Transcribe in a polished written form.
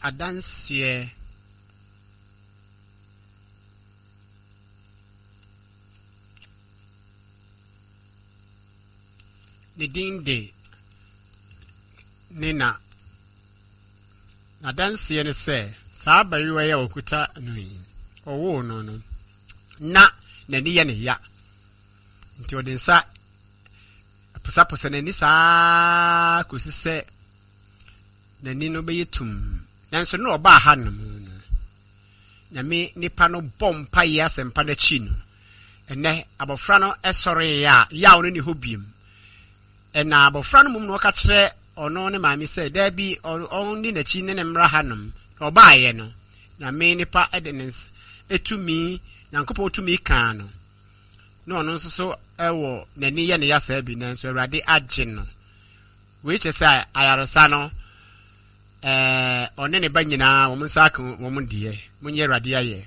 Adanseɛ. Ne din de Nina. N'adanseɛ ne sɛ, saa abayewa yi a ɔkuta no yi, ɔwoo no no, na n'ani yɛ ne ya. Nti ɔde nsa posaposa n'ani saa kɔsi sɛ n'ani no bɛyɛ tumm. Nanso na ɔbaa ha nom no, Nyame nipa no bɔ mpaeɛ asɛmpa no akyi no, ɛnɛ abɔfra no sɔree a yaw no ni hɔ biem. Ɛna abɔfra no mum no ɔka kyerɛ ɔno ne maame sɛ daabi ɔnni n'akyi ne ne mmra ha nom. Na ɔbaeɛ no, Nyame nipa de ne tumi, Nyankopɔn tumi kaa no. Na ɔno nso so wɔ n'ani yɛ ne ya saa bi, nanso Awurade agye no. Wei kyerɛ sɛ ayaresa no, ɛɛ, ɔne ne ba nyinaa wɔn nsa aka wɔn deɛ. Monyɛ Awurade ayɛ.